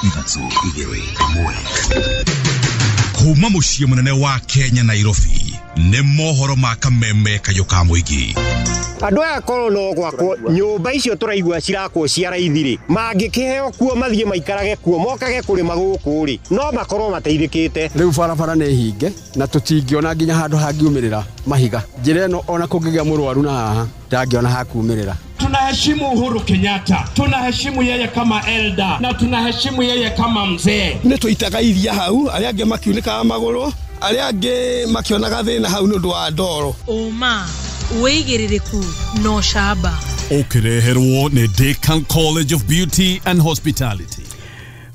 3 2 1. Kuma muciĩ mũnene wa Kenya Nairobi nĩ mohoro ma kameme kayũ ka mũingĩ. Andũ aya korwo no gwakwo nyũmba icio tũraigua cirakwo cia raithi rĩ, mangĩkĩheo kuo mathiĩ maikarage kuo mokage kũrĩma gũkũ rĩ, no makorwo mateithĩkĩte. Rĩu barabara nĩ hinge na tũtingĩona nginya handũ hangiumĩrĩra mahiga. Njĩra ĩno ona kũngĩgĩa mũrwaru na haha ndangĩona hakumĩrĩra. Tunaheshimu Uhuru Kenyatta, tunaheshimu yeye kama elder na tunaheshimu yeye kama mzee. Nĩ tũitaga iria hau, arĩa angĩ makiunĩkaga magũrũ, arĩa angĩ makĩonaga thĩna hau nĩ ũndũ wa ndoro. Ũma wĩigĩrĩrĩku no camba. Ũkĩreherwo nĩ Decan College of Beauty and Hospitality.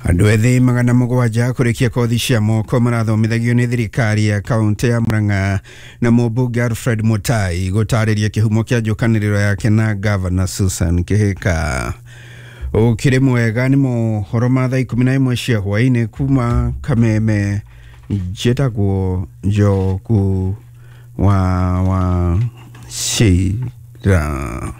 Andũ ethĩ 700 kũrĩkia kothi cia moko marathomithagio nĩ thirikari ya kaũntĩ ya Murang'a na mũmbunge Alfred Mutai gũtarĩria kĩhumo kĩa njũkanĩrĩro yake na Governor Susan Kihika. Ũkĩrĩ mwega nĩ mohoro ma thaa 11 cia hwaĩ-inĩ kuma Kameme. Njĩtagwo Njogu wa Wachira.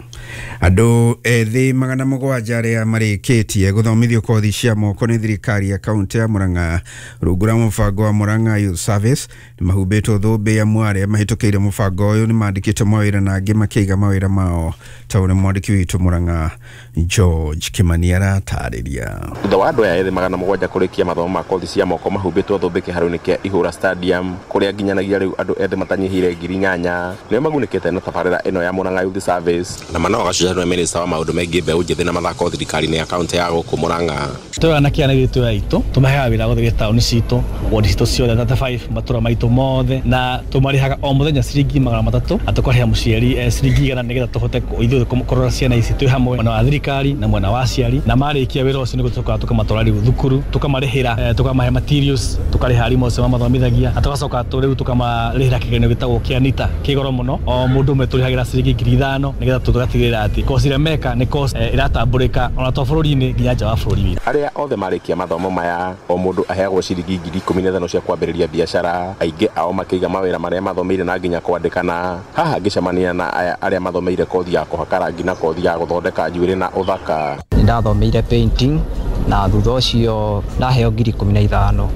Andũ ethĩ 700 arĩa marĩkĩtie gũthomithio kothi cia moko nĩ thirikari ya kaũntĩ ya Murang'a rungu rwa mũbango wa Murang'a Youth Service nĩ mahumbĩtwo thũmbĩ amu arĩa mahĩtũkĩire mũbango ũyũ nĩ mandĩkĩtwo mawĩra na angĩ makĩiga mawĩra mao ta ũrĩa mwandĩki witũ Murang'a George Kimani aratarĩria. Thutha wa andũ aya ethĩ 700 kũrĩkia mathomo ma kothi cia moko mahumbĩtwo thũmbĩ kĩharo-inĩ kĩa Ihũra Stadium kũrĩa nginyanagia rĩu andũ ethĩ matanyihĩire 8,000 nĩo magunĩkĩte na tabarĩra ĩno ya Murang'a Youth Service na mana wagacuca nĩ minista wa maũndũ megiĩ mbeũ njĩthĩ na mathako thirikari-inĩ ya kaũntĩ ya gũkũ Murang'a. Twĩ anake aya gĩtũ aitũ tũmaheaga wĩra gũthiĩ taũni citũ wodi citũ ciothe 35 matũra maitũ mothe na tũmarĩhaga o mũthenya ciringi 300 na tũkarĩha mũciari ciringi 100 nĩgetha tũhote ithuĩ kũrora ciana ici twĩ hamwe mwena wa thirikari na mwena wa aciari na marĩkia wĩra ũcio nĩguo tũcokaga tũkamatwara rĩu thukuru tũkamarĩhĩra tũkamahe materials tũkarĩha arimũ acio mamathomithagia na tũgacoka rĩu tũkamarĩhĩra kĩgeranio gĩtagwo kĩa NITA kĩ goro mũno o mũndũ ũmwe tũrĩhagĩra ciringi 5,000 nĩgetha tũgatigĩrĩra atĩ kosi ĩrĩa meka nĩ kosi ĩratambũrĩka ona to bũrũri-inĩ nginya nja wa bũrũri witũ. Arĩa othe marĩkia mathomo maya o mũndũ aheagwo ciringi 15,000 cia kwambĩrĩria biacara, aingĩ ao makĩiga mawĩra marĩa mathomeire na nginya kwandĩkana. Haha ngĩcemania na aya arĩa mathomeire kothi ya kũhaka rangi na kothi ya gũthondeka njuĩrĩ na ũthaka. Nĩndathomeire painting na thutha ũcio ndaheo 15,000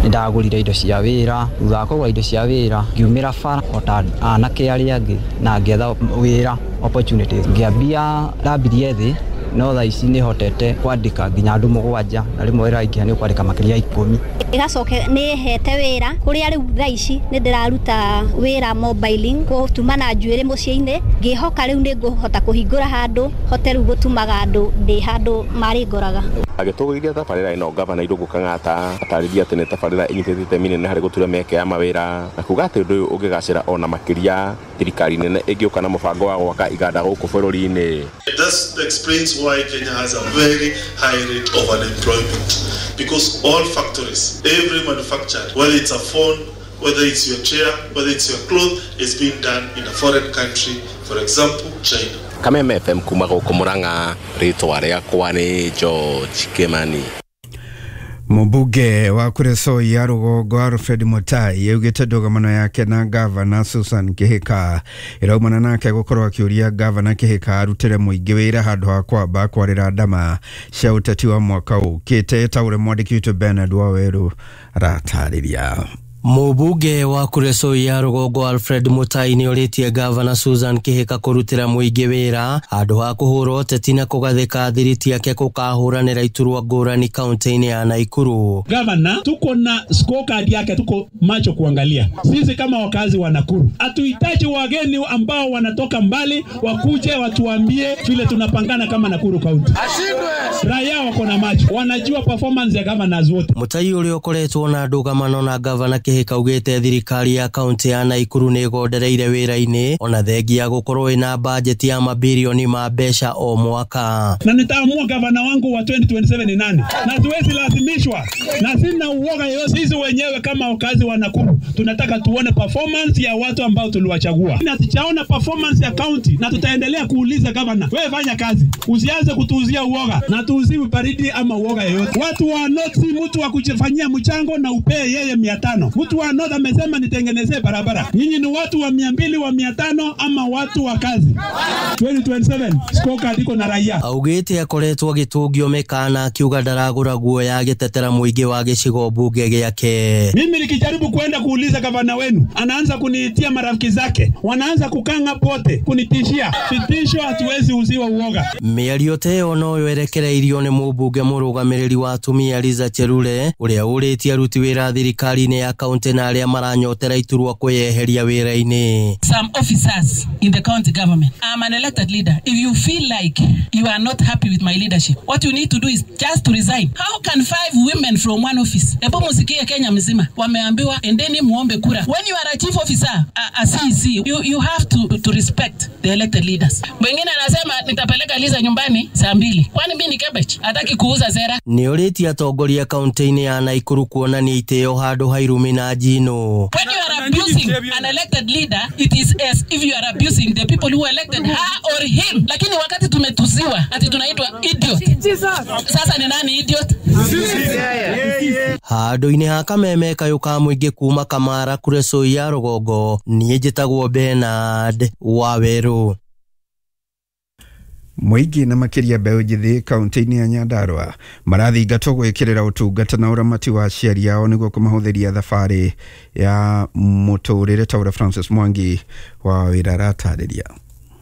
nĩndagũrire indo cia wĩra. Thutha wa kũgũra indo cia wĩra ngiumĩra bara o ta anake arĩa angĩ na ngĩetha wĩra opportunities. Ngĩambia ndambirie thĩ no thaa ici nĩhotete kwandĩka nginya andũ 7 na rĩmwe wĩra ingĩha nĩ ũkwandĩka makĩria ya 10. Ĩgacoka nĩ hete wĩra kũrĩa rĩu thaa ici nĩ ndĩraruta wĩra mobiling gũtuma na njuĩrĩ mũciĩ-inĩ ngĩhoka rĩu nĩ ngũhota kũhingũra handũ hote rĩu gũtumaga andũ ndĩ handũ marĩngoraga. Agĩtũgĩria tabarĩra ĩno Gavana Irũngũ Kang'ata atarĩria atĩ nĩ tabarĩra ĩnyitĩte itemi inene harĩ gũtura mĩeke ya mawĩra na kuga atĩ ũndũ ũyũ ũngĩgacĩra ona makĩria thirikari nene ĩngĩũka na mũbango wa gwaka iganda gũkũ bũrũri-inĩ. That explains why Kenya has a very high rate of unemployment, because all factories, every manufacturer, whether it's a phone, whether it's your chair, whether it's your cloth, is being done in a foreign country, for example, China. Kameme FM kuma gũkũ Murang'a, rĩtwa rĩakwa nĩ George Kimani. Mũmbunge wa Kuresoi ya rũgongo Alfred Mutai yaugĩte ndũgamano yake na Gavana Susan Kihika ĩraumana nake gũkorwo akĩũria Gavana Kihika arutĩre mũingĩ wĩra handũ ha kwamba kwarĩra ndama cia ũteti wa mwaka ũkĩte ta ũrĩa mwandĩki witũ Bernard Waweru aratarĩria. Mũmbunge wa Kuresoi ya rũgongo Alfred Mutai nĩ orĩtie Gavana Susan Kihika kũrutĩra mũingĩ wĩra handũ ha kũhũra ũteti na kũgathĩka thiriti yake kũkahũranĩra iturwa ngũrani kaunti-inĩ ya Nakuru. Gavana, tuko na scorecard yake, tuko macho kuangalia. Sisi kama wakazi wa Nakuru hatuhitaji wageni ambao wanatoka mbali wakuje watuambie vile tunapangana kama Nakuru County. Raia wako na macho, wanajua performance ya governors wote. Mutai ũrĩa ũkoretwo na ndũgamano na Gavana Kihika augĩte thirikari ya kaunti ya Nakuru nĩ ĩgondereire wĩra-inĩ ona thengia gũkorwo ĩna bajeti ya mabirioni ma mbeca o mwaka. Na nitaamua gavana wangu wa 2027 ni nani, na siwezi lazimishwa na sina uoga yoyote. Sisi wenyewe kama wakazi wa Nakuru tunataka tuone performance ya watu ambao tuliwachagua, na sichaona performance ya county, na tutaendelea kuuliza gavana, wewe fanya kazi, usianze kutuuzia uoga na tuuziwe baridi ama uoga yoyote. Watu wa North, mtu wa kujifanyia mchango na upee yeye 500. Mtu wa North amesema nitengenezee barabara. Nyinyi ni watu wa 200, wa 500 ama watu wa kazi? 2027 scorecard iko na raia. Augĩte akoretwo agĩtũngio mĩkana akiuga ndaragũra guoya agĩtetera mũingĩ wa gĩcigo mbunge gĩake. Mimi nikijaribu kwenda kuuliza gavana wenu, anaanza kuniitia marafiki zake, wanaanza kukanga pote kunitishia. Vitisho, hatuwezi uziwa uoga. Mĩario ta ĩyo no yerekereirio nĩ mũmbunge mũrũgamĩrĩri wa atumia Liza Chelule ũrĩa ũrĩtie aruti wĩra thirikari-inĩ ya kaunti na arĩa maranyotera iturwa kwĩyeheria wĩra-inĩ. Some officers in the county government. I'm an elected leader. If you feel like you are not happy with my leadership, what you need to do is just to resign. How can 5 women from one office? Ebu musikie Kenya mzima wameambiwa endeni muombe kura. When you are a chief officer, a CEC, you have to respect the elected leaders. Mwingine anasema nitapeleka Liza nyumbani saa 2. Kwani mimi ni cabbage? Hataki kuuza sera. Nĩ ũrĩtie atongoria kaunti-inĩ ya Nakuru kuonania itĩo handũ ha irumi na njino. When you are abusing an elected leader, it is as if you are abusing the people who elected her or him. Lakini wakati tumetusiwa ati tunaitwa idiot. Sasa ni nani idiot? Handũ-inĩ ha kameme kayũ ka mũingĩ kuma Kamara Kuresoi ya rũgongo, niĩ njĩtagwo Bernard Wawerũ. Mũingĩ na makĩria mbeũ njĩthĩ kaunti-inĩ ya Nyandarua marathingatwo gwĩkĩrĩra ũtungata na ũramati wa aciari ao nĩguo kũmahũthĩria thabarĩ ya mũtũrĩre ta ũrĩa Francis Mwangi wa wĩra aratarĩria.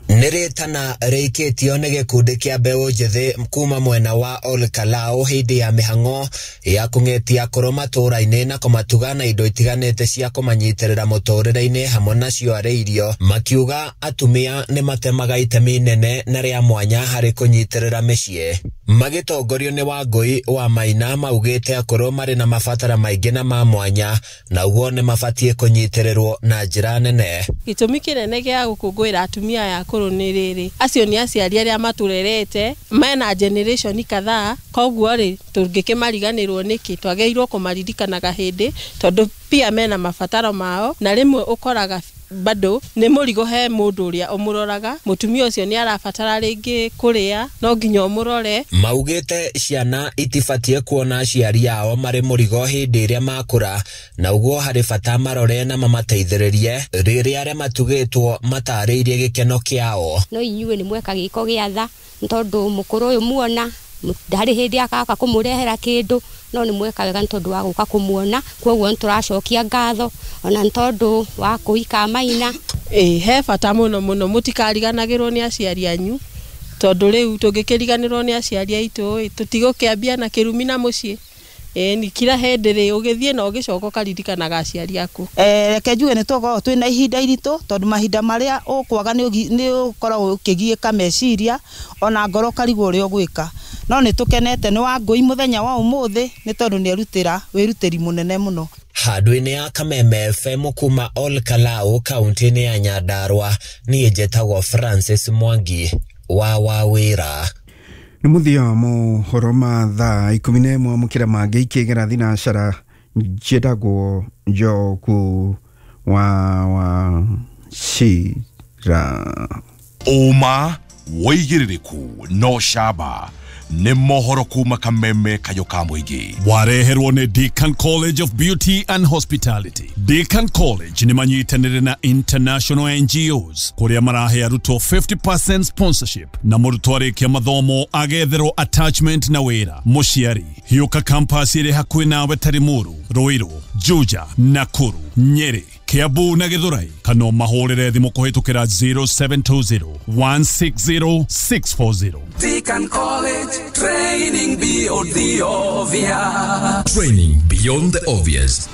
Nĩ rĩtana rĩikĩtio nĩ gĩkundi kĩa mbeũ njĩthĩ kuma mwena wa Ol Kalou hĩndĩ ya mĩhang'o ya kũng'etia akũrũ matũũra-inĩ na kũmatuga na indo itiganĩte cia kũmanyitĩrĩra mũtũũrĩre-inĩ hamwe nacio arĩ irio, makiuga atumia nĩ matemaga itemi nene na rĩa mwanya harĩ kũnyitĩrĩra mĩciĩ. Magĩtongorio nĩ Wangũi wa Maina maugĩte akũrũ marĩ na mabatara maingĩ na ma mwanya na ũguo nĩ mabatiĩ kũnyitĩrĩrwo na njĩra nene. Gĩtũmi kĩnene gĩa gũkũngũĩra atumia aya akũrũ nĩ rĩrĩ, acio nĩ aciari arĩa matũrerete mena generation kadhaa, koguo rĩ tũngĩkĩmariganĩrwo nĩkĩ? Twagĩrĩirwo kũmaririkanaga hĩndĩ tondũ pia mena mabataro mao, na rĩmwe ũkoraga bado nĩ mũrigo he mũndũ ũrĩa ũmũroraga. Mũtumia ũcio nĩ arabatara rĩngĩ kũrĩa, no nginya ũmũrore. Maugĩte ciana itibatiĩ kuona aciari ao marĩ mũrigo hĩndĩ ĩrĩa makũra, na ũguo harĩ bata marore na mamateithĩrĩrie rĩrĩa arĩa matugĩtwo matarĩirie gĩkeno kĩao. No inyuĩ nĩ mweka gĩko gĩa tha nĩ tondũ mũkũrũ ũyũ muona ndarĩ hĩndĩ akaka kũmũrehera kĩndũ, no nĩ mweka wega nĩ tondũ wa gũka kũmuona, koguo nĩ tũracokia ngatho ona nĩ tondũ wa kũika Maina. He bata mũno mũno mũtikariganagĩrwo nĩ aciari anyu, tondũ rĩu tũngĩkĩriganĩrwo nĩ aciari aitũ tũtigũkĩambia na kĩrumi na mũciĩ. Ni kila hĩndĩ rĩ ũgĩthiĩ na ũgĩcoka ũkaririkanaga aciari aku. Reke njuge nĩ tũkoragwo twĩna ihinda iritũ tondũ mahinda marĩa ũkwaga nĩ ũkoragwo ũkĩgiĩka meciria ona ngoro ũkarigwo ũrĩa ũgwĩka, no nĩ tũkenete nĩ Wangũi mũthenya wa ũmũthĩ nĩ tondũ nĩ erutĩra wĩrutĩri mũnene mũno. Handũ-inĩ ya Kameme FM kuma Ol Kalou kaunti-inĩ ya Nyandarua, niĩ njĩtagwo Francis Mwangi wa Wawĩra. Nĩ mũthia wa mohoro ma thaa 11 mũkĩra mangĩ ikĩgera thinacara njĩtagwo Njogu wa Wachira. Ũma wĩigĩrĩrĩku no camba nĩ mohoro kuma Kameme kayũ ka mũingĩ. Wareherwo nĩ Deacon College of Beauty and Hospitality. Deacon College nĩ manyitanĩire na international NGOs kũrĩa marahe arutwo 50% sponsorship na mũrutwo arĩkia mathomo agetherwo attachment na wĩra. Mũciari hiũka campus ĩrĩ hakuhĩ nawe ta Limuru, Ruiru, Juja, Nakuru, Nyeri, Kiambu na Githurai, kana mahũrĩre thimũ kũhĩtũkĩra 0720 160 640. Deacon College, training beyond the obvious. Training beyond the obvious.